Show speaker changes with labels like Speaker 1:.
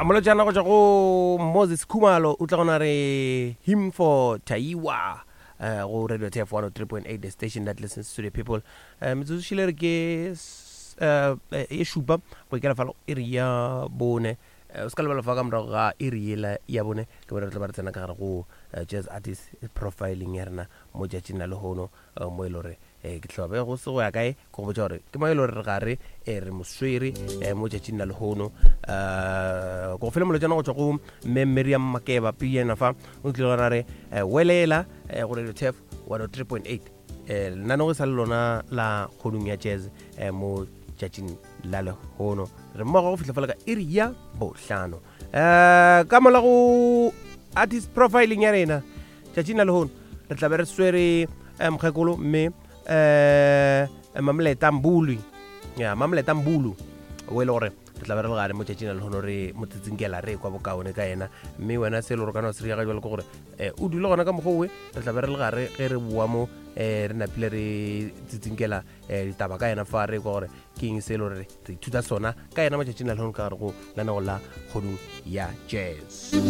Speaker 1: Molotšana go tšwa go Moses Khumalo o tla gona re him for Taiwa uh, go Radio TF 103.8, the station that listens to the people. Uh, metsotso šile re ke uh, e šupa go ikela falo iri ya bone. O se ka lebala fa ka morago ga iri yela ya bone ke bone re tla ba re tsena ka gare go jazz artist profiling ya rena mo tšatšing la lehono, mo e le gore ke tla be go se go ya kae ke go botša gore ke mo e le gore re gare re mo swere mo tšatšing la lehono. Ko go fele molotšana go tšwa go mme Miriam Makeba piyena fa o tlile gona re welela go Radio Tef 103.8, lenanego e sa le lona la kgodung ya jazz. Mo tšatšing la lehono re mmogo go fihla fela ka iri ya bohlano. Ka mola go artist profiling ya rena tšatšing la lehono re tla be re swere mokgekolo mme Mamleta Mbulu, ya Mamleta Mbulu, o e le gore re tla be re le gare mo tšatšing la lehono re mo tsitsinkela re kwa bokaone ka yena. Mme wena se e le gore kana se riaga jalo ke gore o dule gona ka mokgwa owe re tla be re le gare ge re boa mo re napile re tsitsinkela ditaba ka yena fa re kwa gore ke eng se e le gore re ithuta sona ka yena matšatšing la lehono ka gare go lenago la kgodung ya jazz.